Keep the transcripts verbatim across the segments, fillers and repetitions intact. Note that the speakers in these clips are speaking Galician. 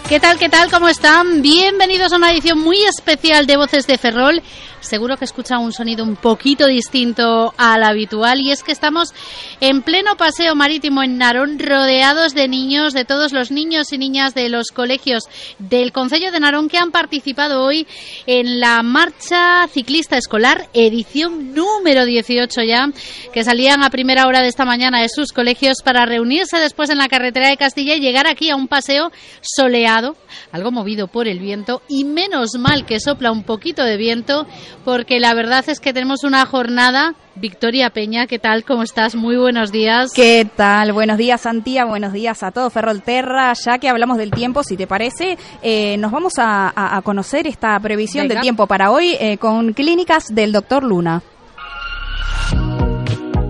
¿Qué tal, qué tal? ¿Cómo están? Bienvenidos a una edición muy especial de Voces de Ferrol. Seguro que escuchan un sonido un poquito distinto al habitual, y es que estamos en pleno paseo marítimo en Narón, rodeados de niños, de todos los niños y niñas de los colegios del concello de Narón que han participado hoy en la marcha ciclista escolar, edición número dieciocho ya, que salían a primera hora de esta mañana de sus colegios para reunirse después en la carretera de Castilla y llegar aquí a un paseo soleado, algo movido por el viento, y menos mal que sopla un poquito de viento, porque la verdad es que tenemos una jornada. Victoria Peña, ¿qué tal? ¿Cómo estás? Muy buenos días. ¿Qué tal? Buenos días, Santia. Buenos días a todo Ferrolterra. Ya que hablamos del tiempo, si te parece, eh, nos vamos a, a, a conocer esta previsión Venga. del tiempo para hoy eh, con Clínicas del doctor Luna.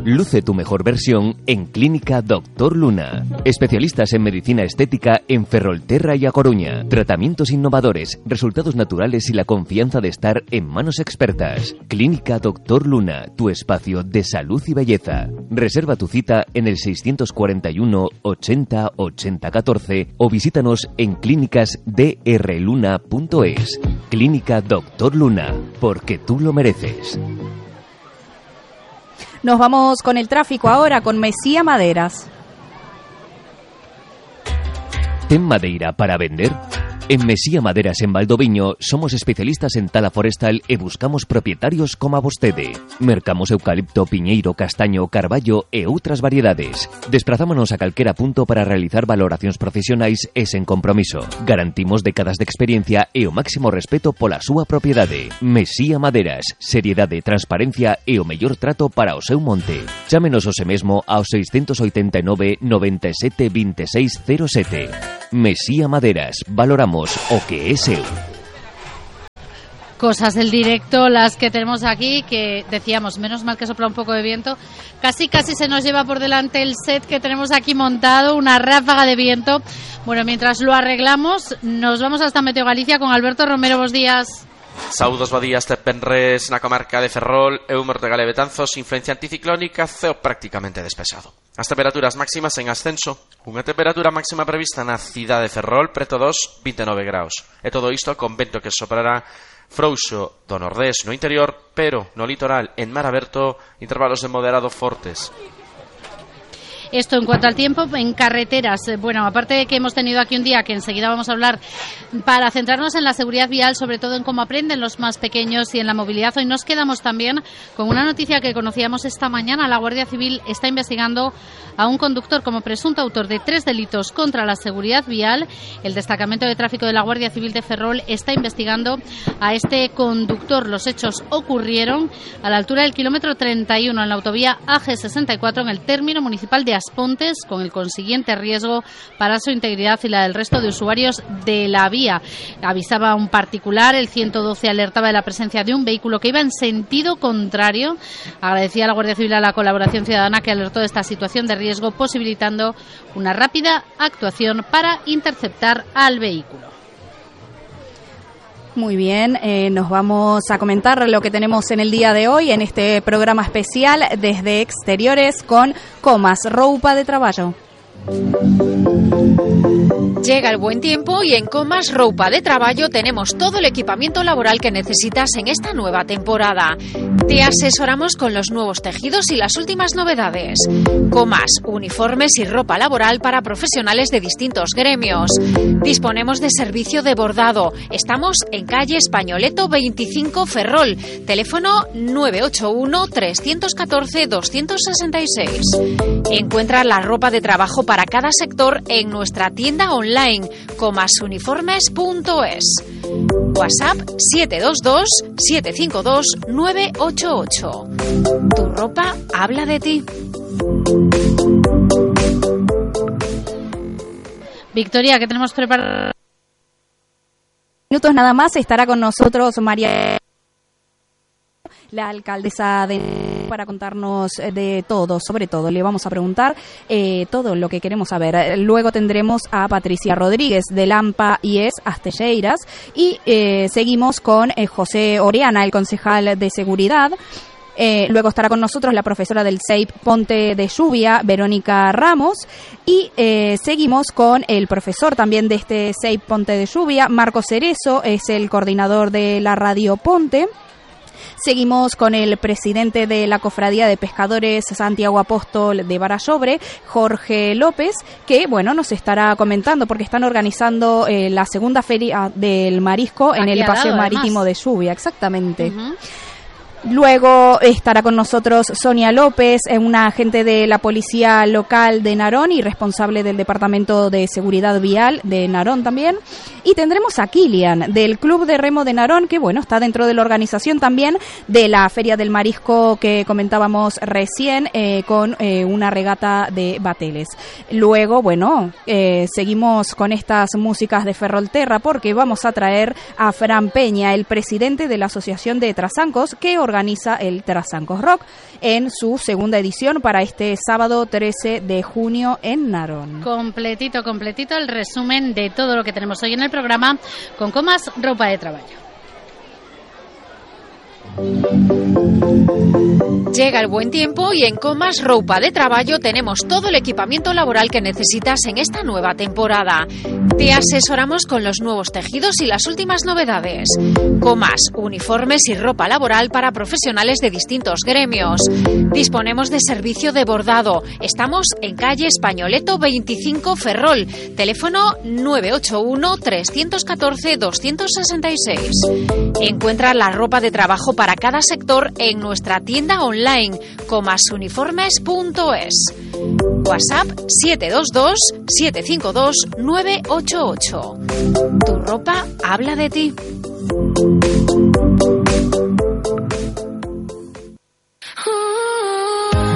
Luce tu mejor versión en Clínica doctor Luna. Especialistas en medicina estética en Ferrolterra y A Coruña. Tratamientos innovadores, resultados naturales y la confianza de estar en manos expertas. Clínica doctor Luna, tu espacio de salud y belleza. Reserva tu cita en el seiscientos cuarenta y uno ochenta ochenta catorce o visítanos en clínicas d r luna punto es. Clínica doctor Luna, porque tú lo mereces. Nos vamos con el tráfico ahora, con Mesía Maderas. ¿Ten madeira para vender? En Mesía Maderas en Valdoviño somos especialistas en tala forestal e buscamos propietarios como a vostede. Mercamos eucalipto, piñeiro, castaño, carballo e outras variedades. Desprazámonos a calquera punto para realizar valoracións profesionais e sen compromiso. Garantimos décadas de experiencia e o máximo respeto pola súa propiedade. Mesía Maderas, seriedade, transparencia e o mellor trato para o seu monte. Chámenos hoxe mesmo ao seiscentos oitenta e nove noventa e sete vinte e seis cero sete. Mesía Maderas, valoramos o que es seu. Cosas del directo las que tenemos aquí, que decíamos, menos mal que sopla un poco de viento, casi casi se nos lleva por delante el set que tenemos aquí montado, una ráfaga de viento. Bueno, mientras lo arreglamos, nos vamos hasta Meteo Galicia con Alberto Romero. Buenos días. Saúdos, bo días, te penres na comarca de Ferrol e o Mortegal e Betanzos, influencia anticiclónica, ceo prácticamente despexado. As temperaturas máximas en ascenso, unha temperatura máxima prevista na cidade de Ferrol preto dos vinte e nove graus. E todo isto con vento que soprará frouxo do nordés no interior, pero no litoral, en mar aberto, intervalos de moderado fortes. Esto en cuanto al tiempo. En carreteras, bueno, aparte de que hemos tenido aquí un día que enseguida vamos a hablar para centrarnos en la seguridad vial, sobre todo en cómo aprenden los más pequeños y en la movilidad, hoy nos quedamos también con una noticia que conocíamos esta mañana. La Guardia Civil está investigando a un conductor como presunto autor de tres delitos contra la seguridad vial. El destacamento de tráfico de la Guardia Civil de Ferrol está investigando a este conductor. Los hechos ocurrieron a la altura del kilómetro treinta y uno en la autovía A G sesenta y cuatro en el término municipal de Aspontes, con el consiguiente riesgo para su integridad y la del resto de usuarios de la vía. Avisaba un particular, el ciento doce alertaba de la presencia de un vehículo que iba en sentido contrario. Agradecía a la Guardia Civil a la colaboración ciudadana que alertó de esta situación de riesgo, posibilitando una rápida actuación para interceptar al vehículo. Muy bien, eh, nos vamos a comentar lo que tenemos en el día de hoy en este programa especial desde exteriores con Comas, roupa de traballo. Llega el buen tiempo y en Comas Roupa de Traballo tenemos todo el equipamiento laboral que necesitas en esta nueva temporada. Te asesoramos con los nuevos tejidos y las últimas novedades. Comas, uniformes y ropa laboral para profesionales de distintos gremios. Disponemos de servicio de bordado. Estamos en calle Españoleto veinticinco Ferrol. Teléfono nueve ocho uno, tres uno cuatro, dos seis seis. Encuentra la ropa de trabajo para cada sector en nuestra tienda online comasuniformes punto es. WhatsApp siete dos dos, siete cinco dos, nueve ocho ocho. Tu ropa habla de ti. Victoria, ¿qué tenemos preparado? Minutos nada más estará con nosotros María, la alcaldesa de, para contarnos de todo, sobre todo. Le vamos a preguntar eh, todo lo que queremos saber. Luego tendremos a Patricia Rodríguez de Lampa y es Astelleiras y eh, seguimos con eh, José Oriana, el concejal de Seguridad. Eh, luego estará con nosotros la profesora del C E I P Ponte de Lluvia, Verónica Ramos, y eh, seguimos con el profesor también de este C E I P Ponte de Lluvia, Marcos Cerezo, es el coordinador de la Radio Ponte. Seguimos con el presidente de la Cofradía de Pescadores Santiago Apóstol de Barallobre, Jorge López, que bueno nos estará comentando porque están organizando eh, la segunda feria del marisco Aquí en el Paseo lado, Marítimo además. de Lluvia, exactamente. Uh-huh. Luego estará con nosotros Sonia López, una agente de la Policía Local de Narón y responsable del Departamento de Seguridad Vial de Narón también. Y tendremos a Kilian, del Club de Remo de Narón, que bueno, está dentro de la organización también de la Feria del Marisco que comentábamos recién, eh, con eh, una regata de bateles. Luego, bueno, eh, seguimos con estas músicas de Ferrolterra porque vamos a traer a Fran Peña, el presidente de la Asociación de Trasancos, que organiza el Trasancos Rock en su segunda edición para este sábado trece de junio en Narón. Completito, completito el resumen de todo lo que tenemos hoy en el programa con Comas Ropa de Trabajo. Llega el buen tiempo y en Comas Roupa de Traballo tenemos todo el equipamiento laboral que necesitas en esta nueva temporada. Te asesoramos con los nuevos tejidos y las últimas novedades. Comas, uniformes y ropa laboral para profesionales de distintos gremios. Disponemos de servicio de bordado. Estamos en calle Españoleto veinticinco Ferrol. Teléfono nueve ocho uno, tres uno cuatro, dos seis seis. Encuentra la ropa de trabajo para para cada sector en nuestra tienda online comasuniformes punto es. WhatsApp siete dos dos, siete cinco dos, nueve ocho ocho. Tu ropa habla de ti.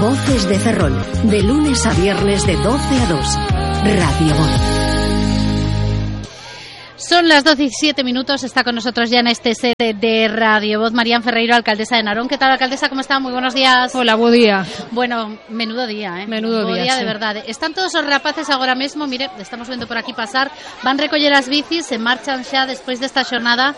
Voces de Ferrol, de lunes a viernes de doce a dos. Radio Voz. Son las doce y siete minutos, está con nosotros ya en este set de Radio Voz Marían Ferreiro, alcaldesa de Narón. ¿Qué tal, alcaldesa? ¿Cómo está? Muy buenos días. Hola, buen día. Bueno, menudo día, ¿eh? Menudo Bo día, día sí. De verdad. Están todos os rapaces agora mesmo, mire, estamos viendo por aquí pasar, van recoller as bicis, se marchan xa despois desta xornada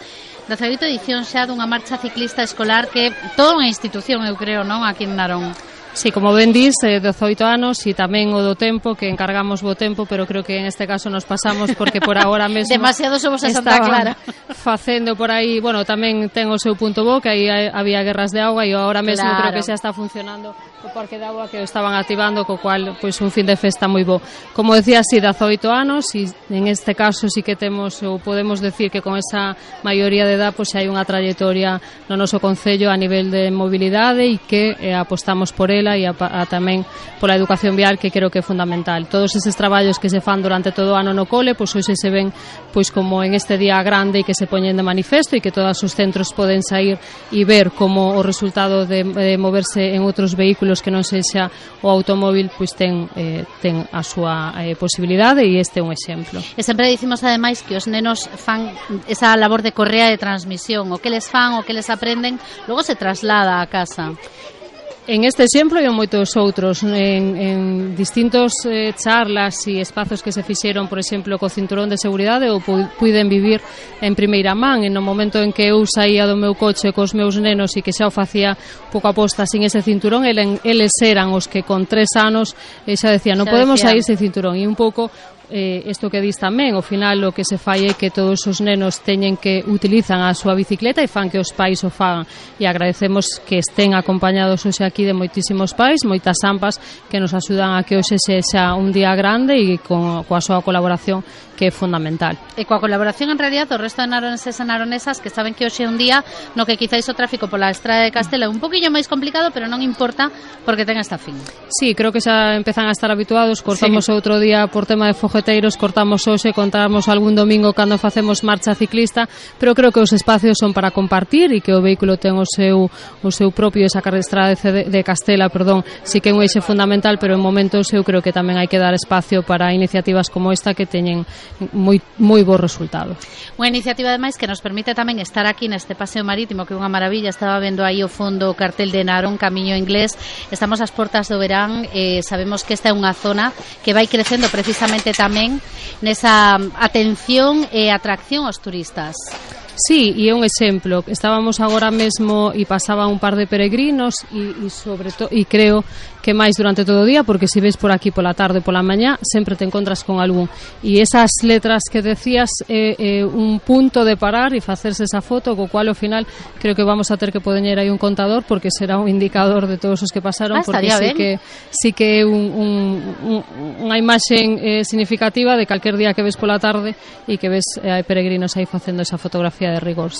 da segunda edición xa dunha marcha ciclista escolar que toda unha institución, eu creo, non? Aquí en Narón. Sí, como ben dis, eh, dezoito anos e tamén o do tempo, que encargamos bo tempo, pero creo que en este caso nos pasamos porque por agora mesmo demasiado somos a Santa Clara facendo por aí, bueno, tamén ten o seu punto bo, que aí había guerras de auga e agora mesmo claro. Creo que xa está funcionando o parque de agua que o estaban activando, co cual, pois, un fin de festa moi bo. Como decía, sí, dezoito anos e en este caso sí que temos, ou podemos decir que con esa maioría de edad, pois hai unha trayectoria no noso concello a nivel de mobilidade e que eh, apostamos por ela e a, a tamén pola educación vial, que creo que é fundamental. Todos eses traballos que se fan durante todo o ano no cole, pois hoxe se ven pois como en este día grande e que se poñen de manifesto e que todos os centros poden sair e ver como o resultado de, de moverse en outros vehículos que non sexa o automóvil, pois ten, eh, ten a súa eh, posibilidade e este é un exemplo. E sempre dicimos ademais que os nenos fan esa labor de correa de transmisión, o que les fan, o que les aprenden, logo se traslada a casa. En este exemplo e en moitos outros, en, en distintos eh, charlas e espazos que se fixeron, por exemplo, co cinturón de seguridade, ou pu- puiden vivir en primeira man, en no momento en que eu saía do meu coche cos meus nenos e que xa o facía pouco a posta sin ese cinturón, eles, eles eran os que con tres anos eh, xa decían, non podemos sair sin cinturón, e un pouco eh, isto que dis tamén, ao final o que se fai é que todos os nenos teñen que utilizan a súa bicicleta e fan que os pais o fagan, e agradecemos que estén acompañados hoxe aquí de moitísimos pais, moitas ampas que nos axudan a que hoxe sexa un día grande e con, coa súa colaboración, que é fundamental. E coa colaboración en realidad do resto de naroneses e naronesas que saben que hoxe é un día no que quizáis o tráfico pola estrada de Castela é un poquillo máis complicado, pero non importa porque ten esta fin. Sí, creo que xa empezan a estar habituados, cortamos sí. Outro día por tema de fogueteiros, cortamos hoxe, contamos algún domingo cando facemos marcha ciclista, pero creo que os espacios son para compartir e que o vehículo ten o seu o seu propio, esa carrestrada de, de Castela, perdón, sí que é un eixe fundamental, pero en momentos eu creo que tamén hai que dar espacio para iniciativas como esta que teñen moi moi bo resultado. Unha iniciativa ademais que nos permite tamén estar aquí neste paseo marítimo, que é unha maravilla. Estaba vendo aí o fondo o cartel de Narón Camiño Inglés. Estamos ás portas do verán, eh, sabemos que esta é unha zona que vai crecendo precisamente tamén nesa atención e atracción aos turistas. Sí, e é un exemplo. Estábamos agora mesmo e pasaba un par de peregrinos e, e sobre todo, e creo que máis durante todo o día, porque se ves por aquí pola tarde e pola mañá, sempre te encontras con algún. E esas letras que decías é eh, eh, un punto de parar e facerse esa foto, co cual ao final creo que vamos a ter que poñer aí un contador, porque será un indicador de todos os que pasaron, ah, porque sí que, sí que é un, un, un, unha imaxe eh, significativa de calquer día que ves pola tarde e que ves eh, hai peregrinos aí facendo esa fotografía de rigor.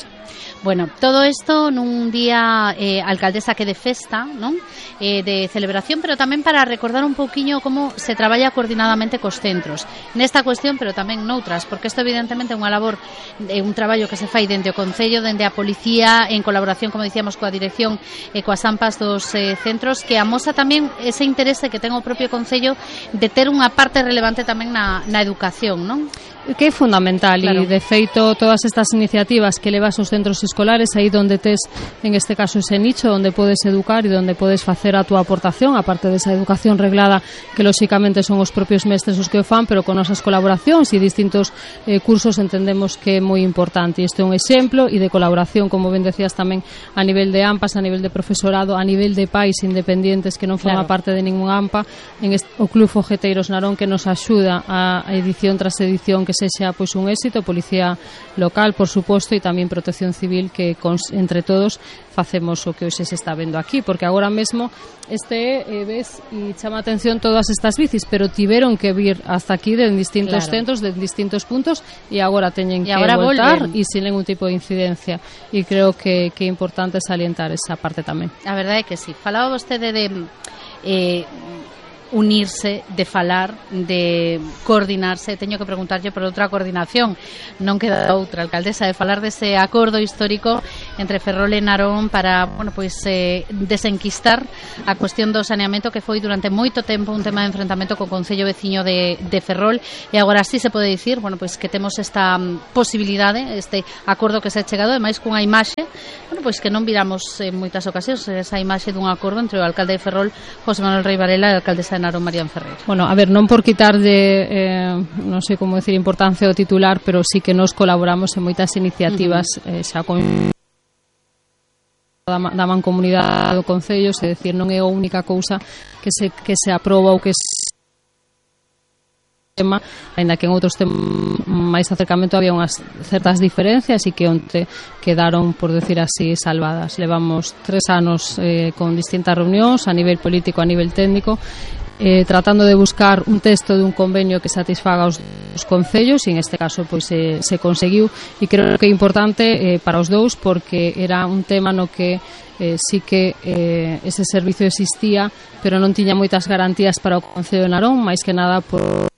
Bueno, todo isto nun día eh, alcaldesa que de festa, non? Eh, de celebración, pero tamén para recordar un pouquiño como se traballa coordinadamente cos centros nesta cuestión, pero tamén noutras, porque isto evidentemente é unha labor, é un traballo que se fai dende o Concello, dende a Policía, en colaboración, como dicíamos, coa dirección e coas AMPAs dos eh, centros, que amosa tamén ese interese que ten o propio Concello de ter unha parte relevante tamén na, na educación, non? Que é fundamental, claro. E de feito todas estas iniciativas que levas aos centros escolares, aí donde tes en este caso ese nicho onde podes educar e onde podes facer a túa aportación, aparte desa educación reglada que lóxicamente son os propios mestres os que o fan, pero con nosas colaboracións e distintos eh, cursos entendemos que é moi importante. Isto é un exemplo e de colaboración, como ben decías tamén, a nivel de AMPAs, a nivel de profesorado, a nivel de pais independientes que non forma claro. parte de ningún AMPA, en este, o Club Fogueteiros Narón, que nos axuda a edición tras edición que sexa pois un éxito, Policía Local, por suposto, e tamén Protección Civil, que cons, entre todos facemos o que hoxe se está vendo aquí, porque agora mesmo este eh, ves e chama a atención todas estas bicis, pero tiveron que vir hasta aquí de distintos claro. centros, de distintos puntos, e agora teñen que voltar e sin ningún tipo de incidencia, e creo que, que é importante salientar esa parte tamén. A verdade é que sí. Falaba vostede de eh, unirse, de falar, de coordinarse. Teño que preguntarlle por outra coordinación, non queda outra, alcaldesa, de falar dese acordo histórico entre Ferrol e Narón para, bueno, pois eh, desenquistar a cuestión do saneamento, que foi durante moito tempo un tema de enfrentamento co concello veciño de, de Ferrol, e agora sí se pode dicir, bueno, pois que temos esta posibilidade, este acordo que se ha chegado, ademais cunha imaxe, bueno, pois que non viramos en moitas ocasións, esa imaxe dun acordo entre o alcalde de Ferrol, José Manuel Rey Varela, e a alcaldesa de Narón, María Ferreira. Bueno, a ver, non por quitarlle eh, non sei como decir importancia ao titular, pero sí que nos colaboramos en moitas iniciativas uh-huh. eh, xa con da, da mancomunidade do Concello, é dicir, non é a única cousa que se, que se aproba ou que se tema, ainda que en outros temas máis acercamento había unhas certas diferencias e que onte quedaron, por decir así, salvadas. Levamos tres anos eh, con distintas reunións a nivel político, a nivel técnico, eh, tratando de buscar un texto de un convenio que satisfaga os, os concellos, e en este caso pois se, se conseguiu, e creo que é importante eh, para os dous, porque era un tema no que eh, sí que eh, ese servicio existía, pero non tiña moitas garantías para o Concello de Narón, máis que nada por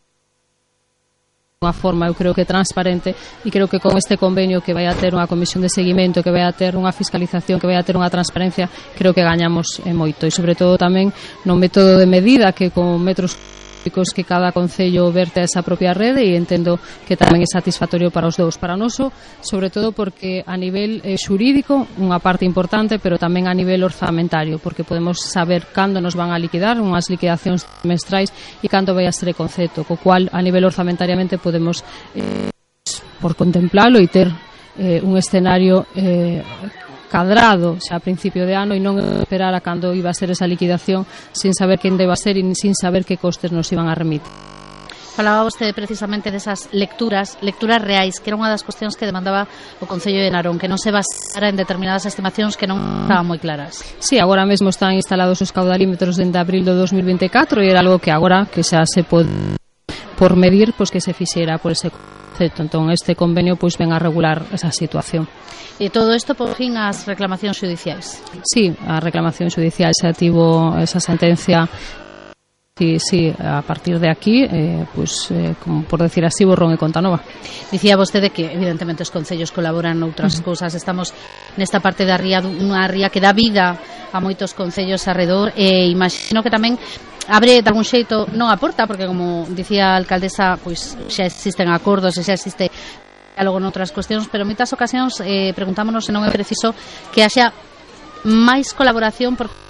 unha forma, eu creo que transparente, e creo que con este convenio que vai a ter unha comisión de seguimento, que vai a ter unha fiscalización, que vai a ter unha transparencia, creo que gañamos eh, moito, e sobre todo tamén no método de medida, que con metros que cada concello verte a esa propia rede, e entendo que tamén é satisfactorio para os dous, para noso, sobre todo porque a nivel eh, xurídico unha parte importante, pero tamén a nivel orzamentario, porque podemos saber cando nos van a liquidar, unhas liquidacións trimestrais, e cando vai a ser o concepto, co cual a nivel orzamentariamente podemos eh, por contemplalo e ter eh, un escenario eh, cadrado xa a principio de ano, e non esperar a cando iba a ser esa liquidación sin saber quen deba ser e sin saber que costes nos iban a remitir. Falaba vostede precisamente desas lecturas, lecturas reais, que era unha das cuestións que demandaba o Concello de Narón, que non se basara en determinadas estimacións que non estaban moi claras. Sí, agora mesmo están instalados os caudalímetros dende abril do dos mil veinticuatro, e era algo que agora que xa se pode por medir, pois que se fixera por ese concepto. Entón este convenio pois ven a regular esa situación. E todo isto por fin as reclamacións judiciais. Sí, a reclamación judicial xa tivo esa sentencia. Sí, sí, a partir de aquí, eh, pues, eh, como por decir así, borrón e conta nova. Dicía vostede que evidentemente os concellos colaboran noutras uh-huh. cousas. Estamos nesta parte da ría, unha ría que dá vida a moitos concellos arredor, e imagino que tamén abre de algún xeito, non a porta, porque como dicía a alcaldesa, pois xa existen acordos e xa existe diálogo noutras cuestións, pero en moitas ocasións eh, preguntámonos se non é preciso que haxa máis colaboración, porque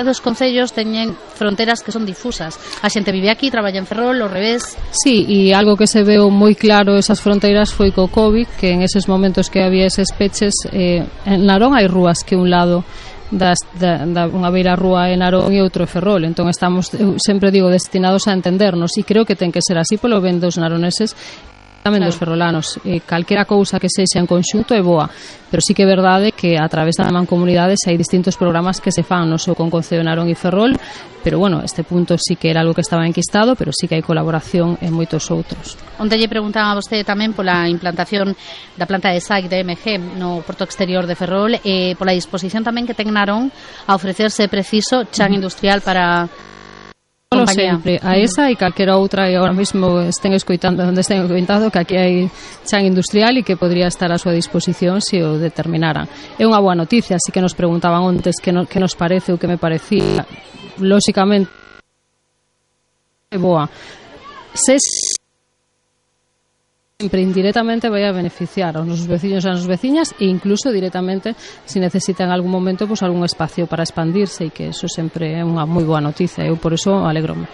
dos concellos teñen fronteras que son difusas. A xente vive aquí, traballa en Ferrol, ao revés. Sí, e algo que se veo moi claro esas fronteiras foi co COVID, que en eses momentos que había eses peches, eh, en Narón hai rúas que un lado das, da, da unha beira rúa en Narón e outro en Ferrol, entón estamos, eu sempre digo, destinados a entendernos, e creo que ten que ser así polo ben dos naroneses tamén claro. Dos ferrolanos, eh, calquera cousa que sexa en conxunto é boa, pero sí que é verdade que a través da mancomunidades hai distintos programas que se fan, non só con Concello de Narón e Ferrol, pero bueno, este punto sí que era algo que estaba enquistado, pero sí que hai colaboración en moitos outros. Onde lle preguntaban a vostede tamén pola implantación da planta de S A C de M G no porto exterior de Ferrol, e eh, pola disposición tamén que ten Narón a ofrecerse preciso chan industrial para Como sempre, a esa e calquera outra e agora mesmo estén escoitando onde estén escoitando que aquí hai chan industrial e que podría estar a súa disposición se o determinaran. É unha boa noticia, así que nos preguntaban antes que, no, que nos parece ou que me parecía. Lóxicamente é boa. Se sempre indirectamente vai a beneficiar aos nosos veciños e as nosas veciñas e incluso directamente se necesitan en algún momento pues, algún espacio para expandirse e que eso sempre é unha moi boa noticia, eu por eso alegrome.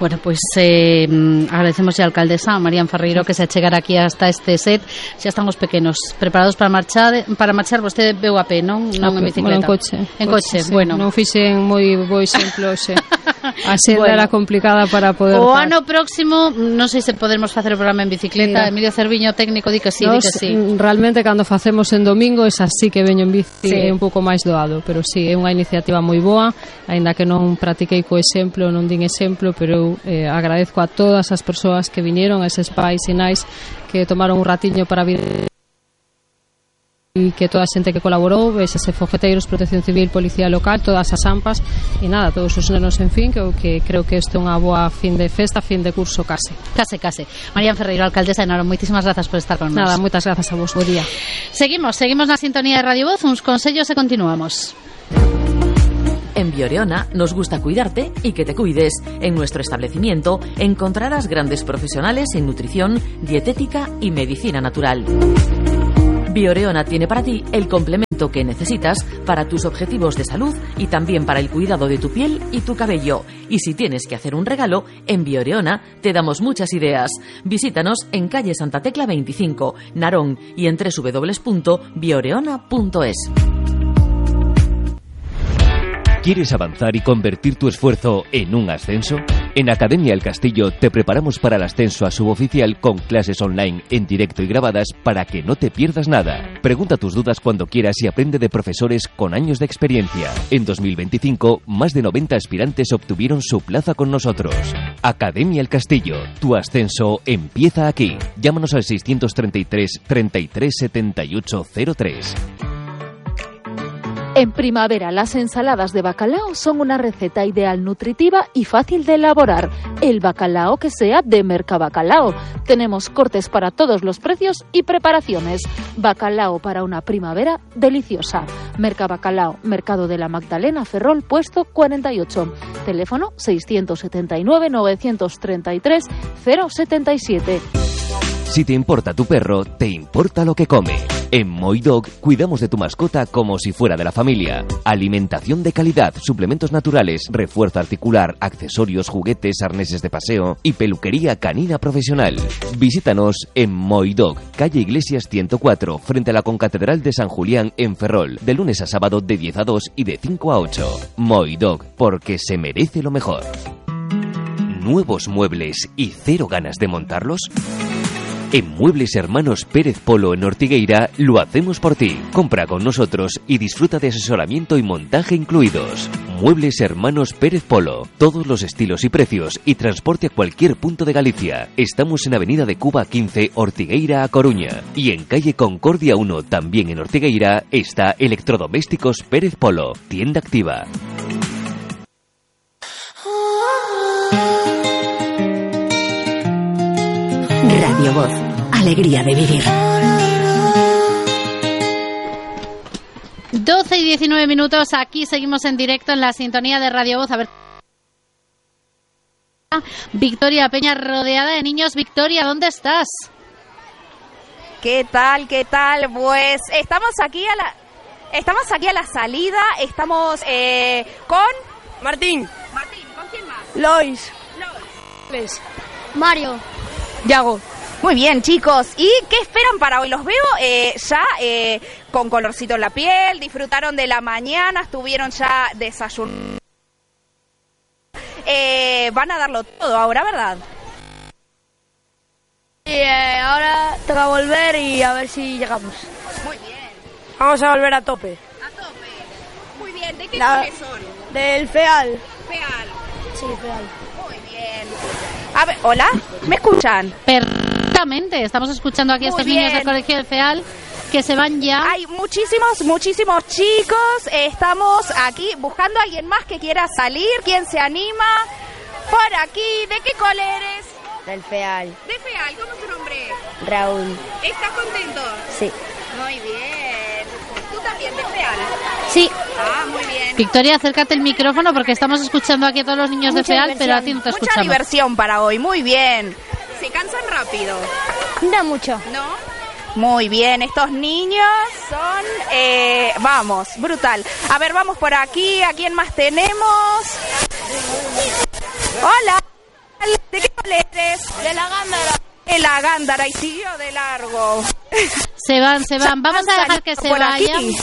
Bueno, pois pues, eh, agradecemos a alcaldesa María Ferreiro que se achegara aquí hasta este set. Xa están os pequenos preparados para marchar, para marchar vostede veu a pé, non? Non en bicicleta. Bueno, en coche. En coche, coche sí. Bueno. Non fixen moi bo exemplo, xe. A senda bueno. Era complicada para poder... O par. Ano próximo, non sei se podemos facer o programa en bicicleta. Mira. Emilio Cerviño, técnico, di que sí, Nos, di que sí. Realmente, cando facemos en domingo, es así que veño en bici, sí. É un pouco máis doado, pero sí, é unha iniciativa moi boa, aínda que non practiquei co exemplo, non din exemplo, pero eu eh, agradezco a todas as persoas que viñeron, a eses pais e nais que tomaron un ratiño para vir e que toda a xente que colaborou, ese fogueteiros, Protección Civil, Policía Local, todas as AMPAs e nada, todos os nenos, en fin, que, que creo que isto é unha boa fin de festa, fin de curso case. Case, case. María Ferreiro, alcaldesa de Narón, moitísimas grazas por estar con nos. Nada, moitas grazas a vos, bo día. Seguimos, seguimos na sintonía de Radio Voz, uns consellos e continuamos. En Bioreona nos gusta cuidarte y que te cuides. En nuestro establecimiento encontrarás grandes profesionales en nutrición, dietética y medicina natural. Bioreona tiene para ti el complemento que necesitas para tus objetivos de salud y también para el cuidado de tu piel y tu cabello. Y si tienes que hacer un regalo, en Bioreona te damos muchas ideas. Visítanos en calle Santa Tecla veinticinco, Narón, y en doble u doble u doble u punto bioreona punto es. ¿Quieres avanzar y convertir tu esfuerzo en un ascenso? En Academia El Castillo te preparamos para el ascenso a suboficial con clases online en directo y grabadas para que no te pierdas nada. Pregunta tus dudas cuando quieras y aprende de profesores con años de experiencia. En dos mil veinticinco, más de noventa aspirantes obtuvieron su plaza con nosotros. Academia El Castillo, tu ascenso empieza aquí. Llámanos al seiscientos treinta y tres, treinta y tres, setenta y ocho cero tres. En primavera, las ensaladas de bacalao son una receta ideal, nutritiva y fácil de elaborar. El bacalao que sea de Mercabacalao. Tenemos cortes para todos los precios y preparaciones. Bacalao para una primavera deliciosa. Mercabacalao, Mercado de la Magdalena, Ferrol, puesto cuarenta y ocho. Teléfono seiscientos setenta y nueve, novecientos treinta y tres, cero setenta y siete. Si te importa tu perro, te importa lo que come. En Moidog cuidamos de tu mascota como si fuera de la familia. Alimentación de calidad, suplementos naturales, refuerzo articular, accesorios, juguetes, arneses de paseo y peluquería canina profesional. Visítanos en Moidog, calle Iglesias ciento cuatro, frente a la Concatedral de San Julián en Ferrol, de lunes a sábado de diez a dos y de cinco a ocho. Moidog, porque se merece lo mejor. ¿Nuevos muebles y cero ganas de montarlos? En Muebles Hermanos Pérez Polo en Ortigueira lo hacemos por ti. Compra con nosotros y disfruta de asesoramiento y montaje incluidos. Muebles Hermanos Pérez Polo. Todos los estilos y precios y transporte a cualquier punto de Galicia. Estamos en Avenida de Cuba quince, Ortigueira a Coruña. Y en calle Concordia uno, también en Ortigueira, está Electrodomésticos Pérez Polo. Tienda activa. Radio Voz, alegría de vivir. doce y diecinueve minutos, aquí seguimos en directo en la sintonía de Radio Voz. A ver. Victoria Peña rodeada de niños. Victoria, ¿dónde estás? ¿Qué tal? ¿Qué tal? Pues estamos aquí a la estamos aquí a la salida, estamos eh, con Martín. Martín, ¿con quién más? Lois. Lois. Mario. Yago. Muy bien, chicos. ¿Y qué esperan para hoy? Los veo eh, ya eh, con colorcito en la piel, disfrutaron de la mañana, estuvieron ya desayunando. Eh, van a darlo todo ahora, ¿verdad? Y eh, ahora toca volver y a ver si llegamos. Muy bien. Vamos a volver a tope. A tope. Muy bien. ¿De qué La... coles son? Del FEAL. FEAL. Sí, FEAL. Muy bien. A ver, ¿hola? ¿Me escuchan? Perfectamente. Estamos escuchando aquí a estos niños del colegio de FEAL que se van ya. Hay muchísimos, muchísimos chicos. Eh, estamos aquí buscando a alguien más que quiera salir. ¿Quién se anima? Por aquí. ¿De qué cole eres? Del FEAL. ¿De FEAL? ¿Cómo es tu nombre? Raúl. ¿Estás contento? Sí. Muy bien. ¿Tú también de FEAL? Sí. Ah, muy bien. Victoria, acércate el micrófono porque estamos escuchando aquí a todos los niños Mucha de FEAL, diversión. pero a ti no te Mucha escuchamos. Mucha diversión para hoy. Muy bien. ¿Se cansan rápido? No mucho. ¿No? Muy bien, estos niños son, eh, vamos, brutal. A ver, vamos por aquí, ¿a quién más tenemos? Hola, ¿de qué cole eres? De la Gándara. De la Gándara, y siguió de largo. Se van, se van. Vamos a dejar que se por vayan. aquí.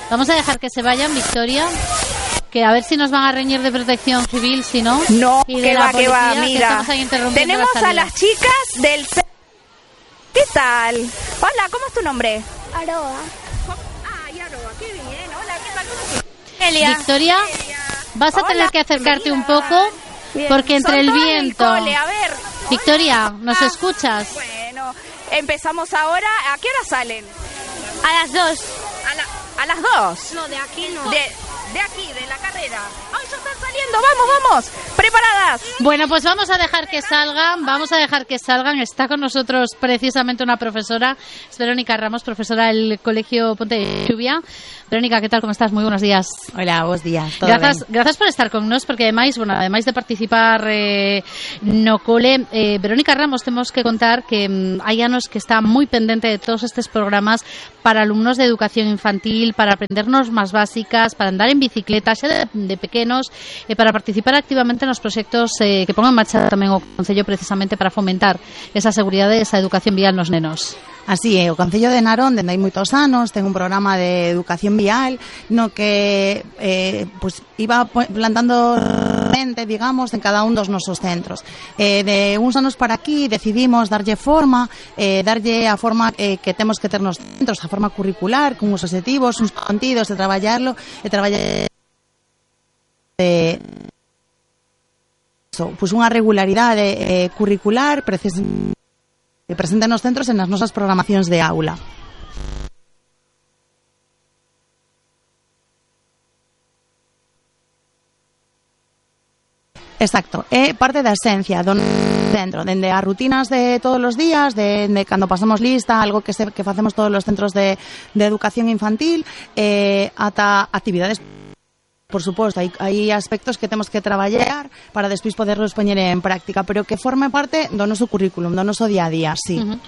Vamos a dejar que se vayan, Victoria. Que a ver si nos van a reñir de protección civil, si no. No, y de que la va, que va, policía, que mira. estamos ahí interrumpiendo Tenemos la a salida. las chicas del... ¿Qué tal? Hola, ¿cómo es tu nombre? Aroa. Ay, Aroa, qué bien. Hola, ¿qué tal? ¿Cómo estás? Elia. Victoria, vas a Hola, tener que acercarte bienvenida. un poco Bien. porque entre Son el todas del viento. cole, a ver. Victoria, ¿nos Ah, escuchas? Bueno, empezamos ahora. ¿A qué hora salen? A las dos. A, la- a las dos. No, de aquí no. De, de aquí, de la carrera. ¡Ay, ya están saliendo! ¡Vamos, vamos! ¿Preparadas? Bueno, pues vamos a dejar que salgan, vamos a dejar que salgan. Está con nosotros precisamente una profesora, es Verónica Ramos, profesora del Colegio Ponte de Lluvia. Verónica, ¿qué tal? ¿Cómo estás? Muy buenos días. Hola, buenos días. ¿Todo Gracias, ben? gracias por estar con nos, porque además, bueno, ademais de participar eh, no cole, eh, Verónica Ramos, temos que contar que mm, hai anos que está moi pendente de todos estes programas para alumnos de educación infantil, para aprendernos más básicas, para andar en bicicleta, xa de, de pequenos, e eh, para participar activamente nos proxectos eh, que pongan en marcha tamén o Concello precisamente para fomentar esa seguridade e esa educación vial nos nenos. Así é, o Concello de Narón, dende hai moitos anos, ten un programa de educación vial no que eh, pues, iba plantando mente, digamos, en cada un dos nosos centros. Eh, de uns anos para aquí decidimos darlle forma, eh, darlle a forma eh, que temos que ter nos centros, a forma curricular, con uns objetivos, uns contidos, de traballarlo, e traballar de so, pues unha regularidade eh, curricular precisamente que presente nos centros e nas nosas programacións de aula. Exacto, é parte da esencia do centro, dende as rutinas de todos os días, de, de cando pasamos lista, algo que, se, que facemos todos os centros de, de educación infantil, eh, ata actividades. Por suposto, hai, hai aspectos que temos que traballar para despois poderlos poñer en práctica, pero que forme parte do noso currículum, do noso día a día, sí. Uh-huh.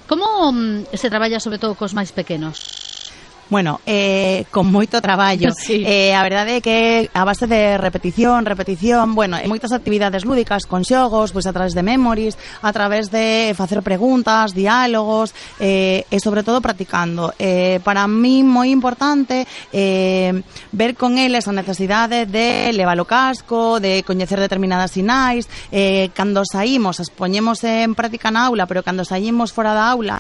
Como um, se traballa sobre todo cos máis pequenos? Bueno, eh, con moito traballo. Sí. Eh, a verdade é que a base de repetición, repetición, bueno, moitas actividades lúdicas con xogos, pois a través de memories, a través de facer preguntas, diálogos, eh, e sobre todo practicando. Eh, para mí moi importante eh, ver con eles a necesidade de levar o casco, de coñecer determinadas sinais, eh, cando saímos, as poñemos en práctica na aula, pero cando saímos fora da aula,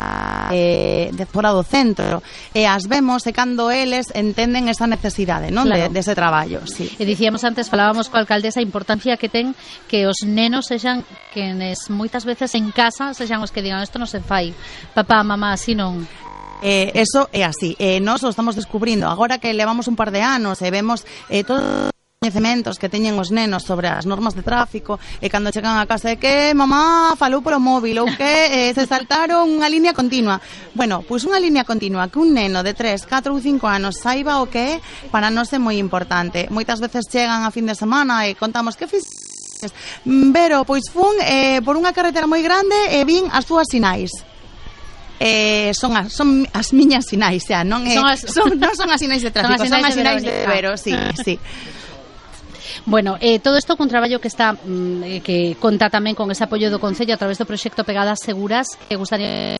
eh, de fora do centro, e as vemos e cando eles entenden esa necesidade, non? Claro. De, de ese traballo, sí. E dicíamos antes, falábamos coa alcaldesa a importancia que ten que os nenos sexan quenes moitas veces en casa sexan os que digan isto non se fai, papá, mamá, así non. Eh, eso é así, eh, nós o estamos descubrindo agora que levamos un par de anos e vemos eh, todo coñecementos que teñen os nenos sobre as normas de tráfico e cando chegan a casa de que mamá falou polo móvil ou que eh, se saltaron unha línea continua. Bueno, pois unha línea continua que un neno de tres, catro ou cinco anos saiba o que é, para nós é moi importante. Moitas veces chegan a fin de semana e contamos que fixes. Pero, pois fun eh, por unha carretera moi grande e vin as túas sinais. Eh, son as son as miñas sinais, xa, non é, Son as- son, non son as sinais de tráfico, son as sinais, Son as sinais de de Verónica. Vero, sí, sí. Bueno, eh, todo isto con traballo que está mm, que conta tamén con ese apoio do Concello a través do proxecto Pegadas Seguras, que gustaría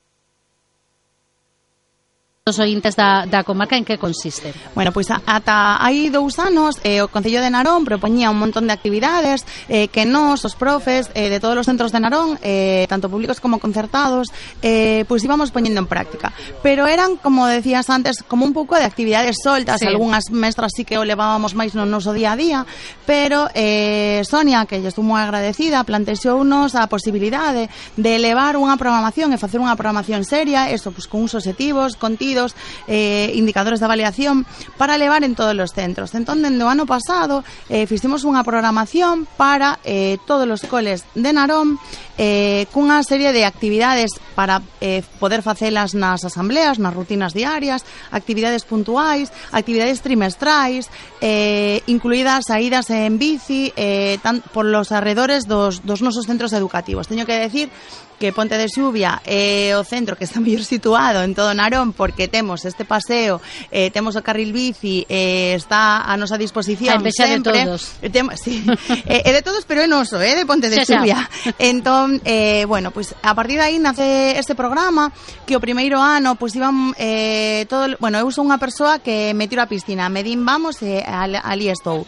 os ointes da, da comarca, en que consiste? Bueno, pois pues, ata hai dous anos eh, o Concello de Narón propoñía un montón de actividades eh, que nós, os profes eh, de todos os centros de Narón, eh, tanto públicos como concertados, eh, pois pues íbamos poñendo en práctica, pero eran, como decías antes, como un pouco de actividades soltas, sí. Algúnas mestras sí que o levábamos máis no noso día a día, pero eh, Sonia, que lle estou moi agradecida, plantexounos a posibilidade de elevar unha programación e facer unha programación seria, eso, pues, con uns obxectivos, contidos, Eh, indicadores de avaliación para levar en todos os centros. Entón, dende o ano pasado eh, fixemos unha programación para eh, todos os coles de Narón eh, cunha serie de actividades para eh, poder facelas nas asambleas, nas rutinas diarias, actividades puntuais, actividades trimestrais, eh, incluídas saídas en bici eh, tan, por los arredores dos, dos nosos centros educativos. Teño que decir que Ponte de Xuvia é o centro que está mellor situado en todo Narón, porque temos este paseo, eh, temos o carril bici, eh, está a nosa disposición sempre. De todos. Tem, sí, é eh, de todos, pero é noso, eh, de Ponte de xa, Xuvia. xa. Entón, eh, bueno, pues a partir de aí nace este programa que o primeiro ano, pues iban eh, todo, bueno, eu sou unha persoa que me tiro a piscina, me din vamos e eh, ali estou.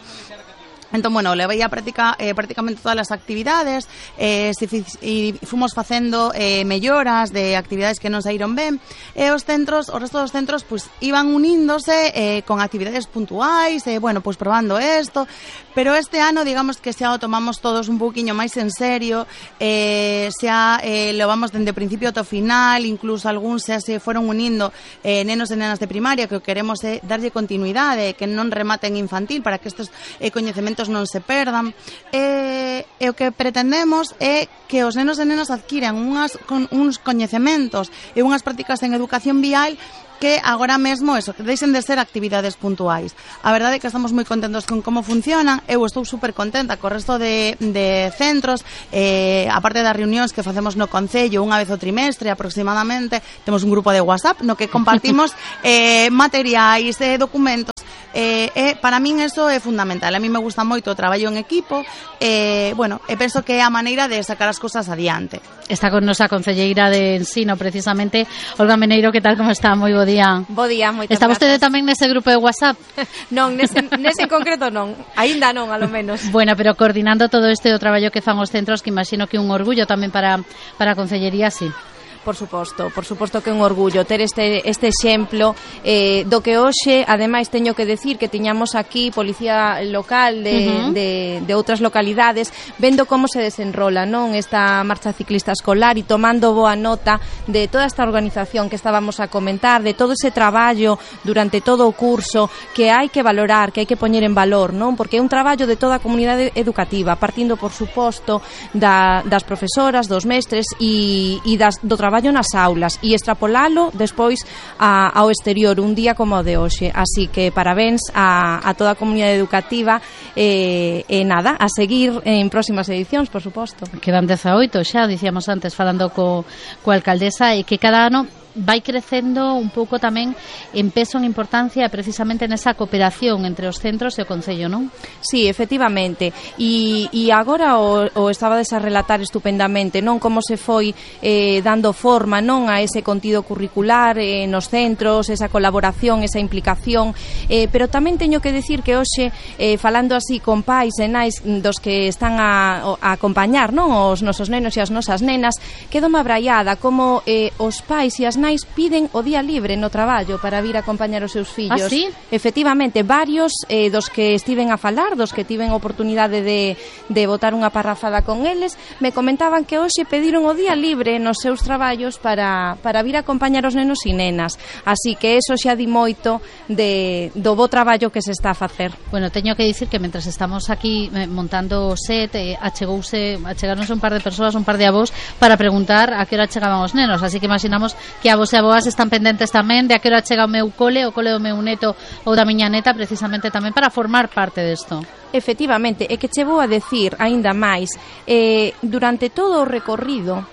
Entón, bueno, levei a práctica eh, prácticamente todas as actividades eh, se fi, e fomos facendo eh, melloras de actividades que non saíron ben e os centros, o resto dos centros pues, iban uníndose eh, con actividades puntuais e, eh, bueno, pues probando esto, pero este ano, digamos que xa o tomamos todos un pouquiño máis en serio, eh, xa eh, lo vamos dende o principio ao final, incluso algúns xa se foron unindo eh, nenos e nenas de primaria, que o queremos é eh, darlle continuidade, que non rematen infantil, para que estes eh, coñecementos non se perdan, e, e o que pretendemos é que os nenos e nenas adquiran unhas, con, uns coñecementos e unhas prácticas en educación vial que agora mesmo eso, que deixen de ser actividades puntuais. A verdade é que estamos moi contentos con como funcionan. Eu estou super contenta co resto de, de centros, eh, aparte das reunións que facemos no Concello unha vez o trimestre aproximadamente, temos un grupo de WhatsApp no que compartimos eh, materiais e eh, documentos. Eh, eh, para min eso é fundamental. A mí me gusta moito o traballo en equipo, eh, bueno, e penso que é a maneira de sacar as cosas adiante. Está con nosa concelleira de Ensino, precisamente, Olga Meneiro. Que tal, como está? Moi bo día. Bo día, moitas Está vostede grazas. tamén nese grupo de WhatsApp? Non, nese, nese en concreto non. Aínda non, a lo menos. Bueno, pero coordinando todo este o traballo que fan os centros, que imagino que un orgullo tamén para, para a concellería, sí. Por suposto, por suposto que é un orgullo ter este, este exemplo eh, do que hoxe, ademais, teño que decir que tiñamos aquí policía local de, uh-huh. de, de outras localidades vendo como se desenrola, non, esta marcha ciclista escolar e tomando boa nota de toda esta organización que estábamos a comentar, de todo ese traballo durante todo o curso que hai que valorar, que hai que poñer en valor, non, porque é un traballo de toda a comunidade educativa, partindo, por suposto, da, das profesoras, dos mestres e, e das, do traballo nas aulas e extrapolalo despois a, ao exterior un día como o de hoxe, así que parabéns a, a toda a comunidade educativa e, e nada, a seguir en próximas edicións, por suposto. Quedan dezaoito xa, dicíamos antes falando co, co alcaldesa, e que cada ano vai crecendo un pouco tamén en peso, en importancia, precisamente nesa cooperación entre os centros e o Concello, non? Sí, efectivamente, e, e agora o, o estabades a relatar estupendamente, non, como se foi eh, dando forma, non, a ese contido curricular eh, nos centros, esa colaboración, esa implicación, eh, pero tamén teño que decir que hoxe, eh, falando así con pais e nais dos que están a, a acompañar, non, os nosos nenos e as nosas nenas, quedo mabraiada como eh, os pais e as nais piden o día libre no traballo para vir a acompañar os seus fillos. ¿Ah, sí? Efectivamente, varios eh, dos que estiven a falar, dos que tiven oportunidade de, de botar unha parrafada con eles, me comentaban que hoxe pediron o día libre nos seus traballos para, para vir a acompañar os nenos e nenas. Así que eso xa di moito de, do bo traballo que se está a facer. Bueno, teño que dicir que mentras estamos aquí eh, montando o set, eh, achegouse, achegaronse un par de persoas, un par de avós, para preguntar a que hora chegaban os nenos, así que imaginamos que a vos e a boas están pendentes tamén de a que hora chega o meu cole, o cole do meu neto ou da miña neta, precisamente tamén para formar parte desto. Efectivamente, e que che vou a decir aínda máis, eh, durante todo o recorrido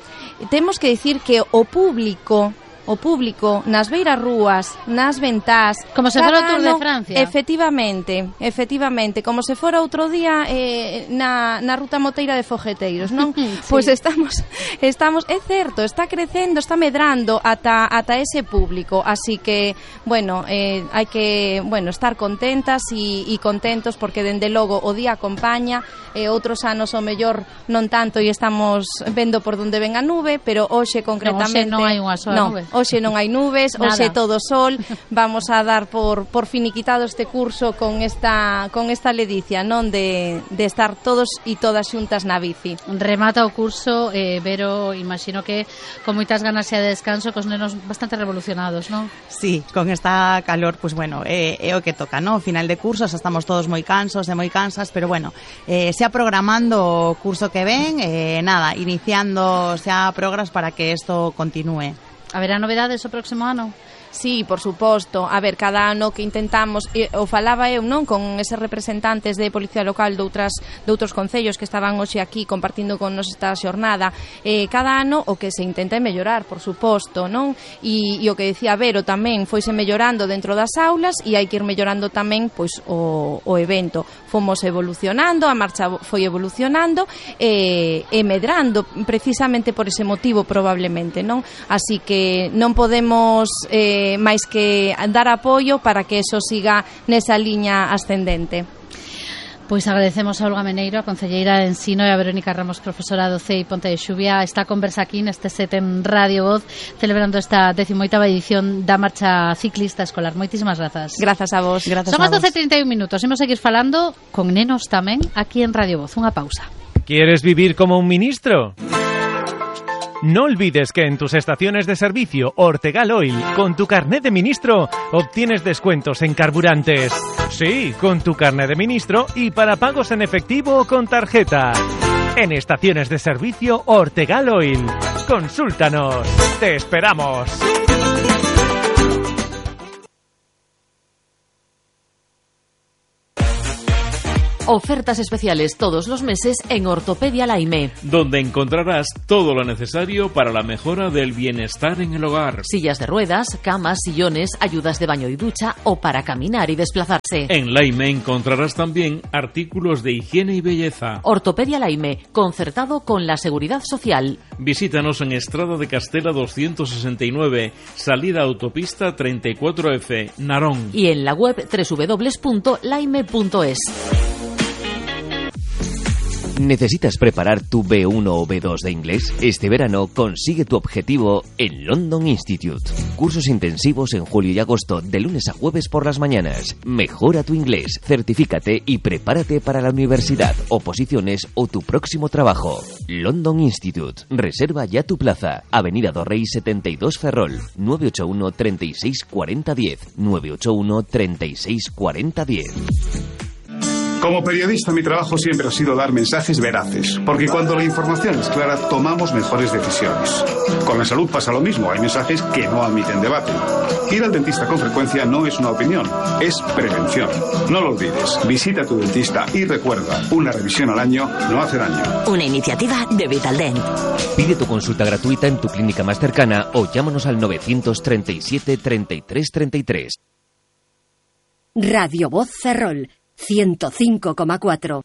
temos que decir que o público o público nas beiras rúas, nas ventás, como se fora o Tour de Francia. Efectivamente, efectivamente, como se fora outro día eh, na, na ruta moteira de fogueteiros, non? Sí. Pois estamos, estamos, é certo, está crecendo, está medrando ata, ata ese público, así que, bueno, eh, hai que, bueno, estar contentas e, e contentos porque dende logo o día acompaña, e outros anos o mellor non tanto e estamos vendo por onde ven a nube, pero hoxe concretamente non, hoxe non hai unha sola no, nube. Hoxe non hai nubes, hoxe todo sol. Vamos a dar por, por finiquitado este curso con esta con esta ledicia, non, de, de estar todos e todas xuntas na bici. Remata o curso, eh, Vero, imagino que con moitas ganas xa de descanso, cos nenos bastante revolucionados, non? Sí, con esta calor, pues bueno, é, é o que toca, non? Final de curso, xa estamos todos moi cansos e moi cansas, pero bueno, eh, xa programando o curso que ven, eh, nada, iniciando xa progras para que isto continúe. Haberá novedades o próximo ano? Sí, por suposto. A ver, cada ano que intentamos, e, o falaba eu, non, con eses representantes de Policía Local de outras de outros concellos que estaban hoxe aquí compartindo con nos esta xornada, eh, cada ano o que se intenta é mellorar, por suposto, non? E, e o que decía Vero tamén, foise mellorando dentro das aulas e hai que ir mellorando tamén pois o, o evento. Fomos evolucionando, a marcha foi evolucionando e, e medrando precisamente por ese motivo probablemente, non? Así que non podemos eh, máis que dar apoio para que eso siga nesa liña ascendente. Pois agradecemos a Olga Meneiro, a concelleira de Ensino, e a Verónica Ramos, profesora do C E I Ponte de Xuvia, esta conversa aquí neste set en Radio Voz, celebrando esta decimoitava edición da marcha ciclista escolar. Moitísimas grazas. Grazas a vos. Grazas Son a as doce e trinta e un minutos. Imos seguir falando con nenos tamén aquí en Radio Voz. Unha pausa. ¿Quieres vivir como un ministro? No olvides que en tus estaciones de servicio Ortegal Oil, con tu carnet de ministro, obtienes descuentos en carburantes. Sí, con tu carnet de ministro y para pagos en efectivo o con tarjeta. En estaciones de servicio Ortegal Oil. Consúltanos. Te esperamos. Ofertas especiales todos los meses en Ortopedia Laime, donde encontrarás todo lo necesario para la mejora del bienestar en el hogar. Sillas de ruedas, camas, sillones, ayudas de baño y ducha o para caminar y desplazarse. En Laime encontrarás también artículos de higiene y belleza. Ortopedia Laime, concertado con la Seguridad Social. Visítanos en Estrada de Castela doscientos sesenta y nueve, salida autopista treinta y cuatro F, Narón. Y en la web doble u doble u doble u punto laime punto es. ¿Necesitas preparar tu B uno o B dos de inglés? Este verano consigue tu objetivo en London Institute. Cursos intensivos en julio y agosto, de lunes a jueves por las mañanas. Mejora tu inglés, certifícate y prepárate para la universidad, oposiciones o tu próximo trabajo. London Institute. Reserva ya tu plaza. Avenida Dorrey setenta y dos Ferrol. nueve ocho uno, treinta y seis, cuarenta, diez. nueve ocho uno, treinta y seis, cuarenta, diez. Como periodista, mi trabajo siempre ha sido dar mensajes veraces, porque cuando la información es clara, tomamos mejores decisiones. Con la salud pasa lo mismo, hay mensajes que no admiten debate. Ir al dentista con frecuencia no es una opinión, es prevención. No lo olvides, visita a tu dentista y recuerda, una revisión al año no hace daño. Una iniciativa de Vitaldent. Pide tu consulta gratuita en tu clínica más cercana o llámanos al novecientos treinta y siete, treinta y tres, treinta y tres. Radio Voz Ferrol. ciento cinco coma cuatro.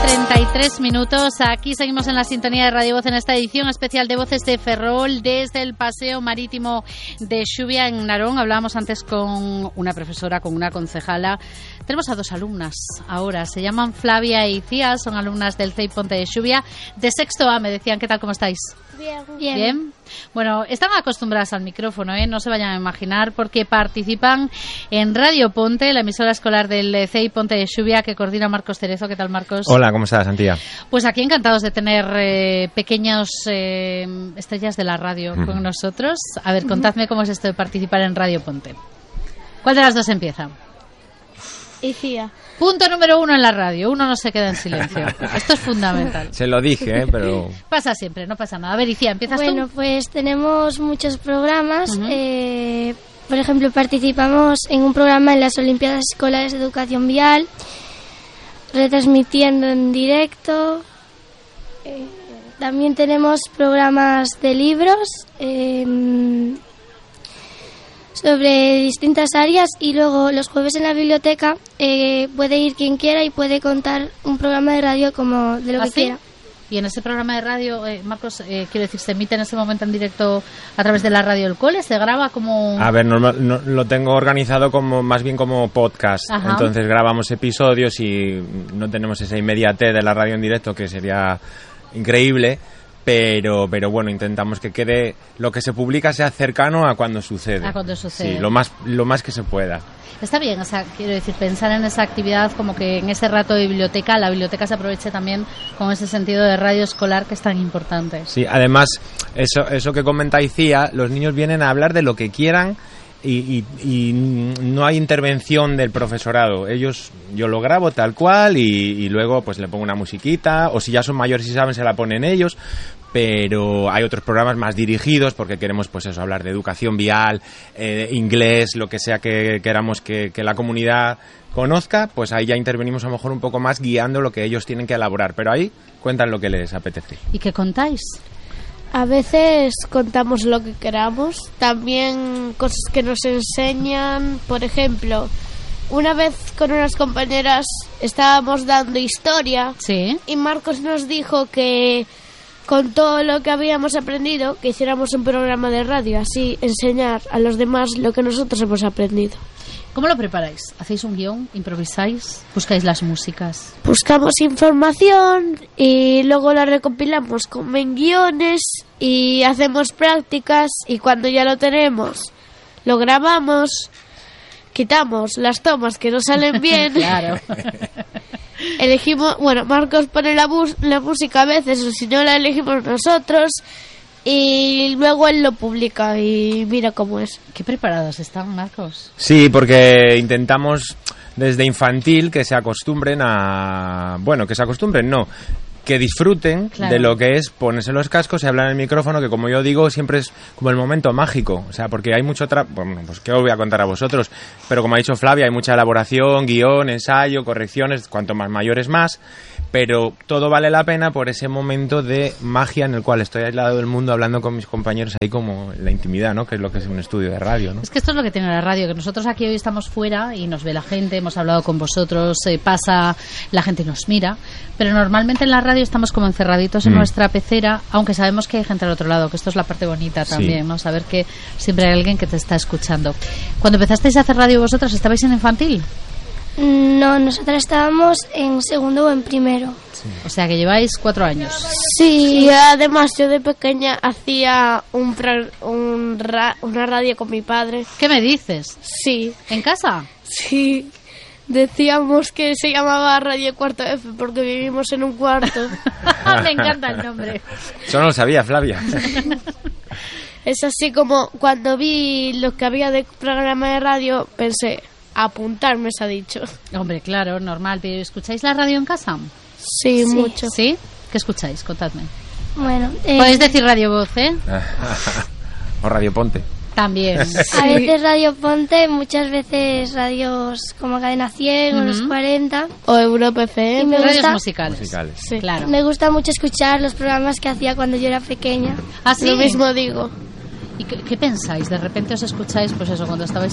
treinta y tres minutos, aquí seguimos en la sintonía de Radio Voz en esta edición especial de Voces de Ferrol desde el Paseo Marítimo de Xuvia en Narón. Hablábamos antes con una profesora, con una concejala. Tenemos a dos alumnas ahora, se llaman Flavia y Cía, son alumnas del C E I Ponte de Xuvia de sexto A. Me decían, ¿qué tal, cómo estáis? Bien. Bien. Bien. Bueno, están acostumbradas al micrófono, ¿eh? No se vayan a imaginar, porque participan en Radio Ponte, la emisora escolar del C E I Ponte de Xuvia, que coordina Marcos Cerezo. ¿Qué tal, Marcos? Hola, ¿cómo estás, Antía? Pues aquí encantados de tener eh, pequeños eh, estrellas de la radio uh-huh. con nosotros. A ver, contadme cómo es esto de participar en Radio Ponte. ¿Cuál de las dos empieza? Icía. Punto número uno en la radio. Uno no se queda en silencio. Esto es fundamental. Se lo dije, ¿eh? Pero... Pasa siempre, no pasa nada. A ver, Icía, ¿empiezas bueno, tú? Bueno, pues tenemos muchos programas. Uh-huh. eh, por ejemplo, participamos en un programa en las Olimpiadas Escolares de Educación Vial. retransmitiendo en directo. Eh, también tenemos programas de libros eh, sobre distintas áreas, y luego los jueves en la biblioteca eh, puede ir quien quiera y puede contar un programa de radio como de lo ¿Ah, que sí? quiera. Y en ese programa de radio, eh, Marcos, eh, quiero decir, ¿se emite en ese momento en directo a través de la radio del cole? ¿Se graba como...? A ver, normal, no, lo tengo organizado como más bien como podcast. Ajá. Entonces grabamos episodios y no tenemos esa inmediatez de la radio en directo, que sería increíble, pero pero bueno, intentamos que quede, lo que se publica sea cercano a cuando sucede. A cuando sucede. Sí, lo más, lo más que se pueda. Está bien, o sea, quiero decir, pensar en esa actividad como que en ese rato de biblioteca, la biblioteca se aproveche también con ese sentido de radio escolar que es tan importante. Sí, además, eso, eso que comentáis, Cía, los niños vienen a hablar de lo que quieran y, y, y no hay intervención del profesorado. Ellos, yo lo grabo tal cual y, y luego pues le pongo una musiquita, o si ya son mayores y saben, se la ponen ellos. Pero hay otros programas más dirigidos porque queremos, pues eso, hablar de educación vial, eh, inglés, lo que sea que queramos que, que la comunidad conozca, pues ahí ya intervenimos a lo mejor un poco más guiando lo que ellos tienen que elaborar, pero ahí cuentan lo que les apetece. ¿Y qué contáis? A veces contamos lo que queramos, también cosas que nos enseñan. Por ejemplo, una vez con unas compañeras estábamos dando historia, ¿sí? Y Marcos nos dijo que con todo lo que habíamos aprendido, que hiciéramos un programa de radio, así enseñar a los demás lo que nosotros hemos aprendido. ¿Cómo lo preparáis? ¿Hacéis un guión? ¿Improvisáis? ¿Buscáis las músicas? Buscamos información y luego la recopilamos como en guiones y hacemos prácticas, y cuando ya lo tenemos, lo grabamos, quitamos las tomas que no salen bien. Claro. Elegimos, bueno, Marcos pone la, bus, la música a veces, o si no la elegimos nosotros, y luego él lo publica y mira cómo es. ¿Qué preparados están, Marcos? Sí, porque intentamos desde infantil que se acostumbren a... Bueno, que se acostumbren, no... que disfruten, claro, de lo que es ponerse los cascos y hablar en el micrófono, que como yo digo, siempre es como el momento mágico, o sea, porque hay mucho tra... bueno, pues qué os voy a contar a vosotros, pero como ha dicho Flavia, hay mucha elaboración, guión, ensayo, correcciones, cuanto más mayores más, pero todo vale la pena por ese momento de magia en el cual estoy aislado del mundo hablando con mis compañeros ahí como en la intimidad, ¿no? Que es lo que es un estudio de radio, ¿no? Es que esto es lo que tiene la radio, que nosotros aquí hoy estamos fuera y nos ve la gente, hemos hablado con vosotros, eh, pasa, la gente nos mira, pero normalmente en la radio estamos como encerraditos en mm. nuestra pecera, aunque sabemos que hay gente al otro lado, que esto es la parte bonita también, sí, ¿no? Saber que siempre hay alguien que te está escuchando. Cuando empezasteis a hacer radio vosotros, ¿estabais en infantil? No, nosotras estábamos en segundo o en primero. Sí. O sea que lleváis cuatro años. Sí, sí, además yo de pequeña hacía un, un ra, una radio con mi padre. ¿Qué me dices? Sí. ¿En casa? Sí. Decíamos que se llamaba Radio Cuarto F porque vivimos en un cuarto. Me encanta el nombre. Eso no lo sabía, Flavia. Es así como cuando vi lo que había de programa de radio, pensé, apuntarme se ha dicho. Hombre, claro, normal. ¿Pero escucháis la radio en casa? Sí, sí, mucho. ¿Sí? ¿Qué escucháis? Contadme. Bueno, eh... podéis decir Radio Voz, ¿eh? O Radio Ponte. También. A veces Radio Ponte, muchas veces radios como Cadena cien, uh-huh, o Los cuarenta. O Europa F M. Radios gusta, musicales. musicales. Sí, claro. Me gusta mucho escuchar los programas que hacía cuando yo era pequeña. ¿Ah, sí? Lo mismo digo. ¿Y qué, qué pensáis? De repente os escucháis, pues eso, cuando estabais en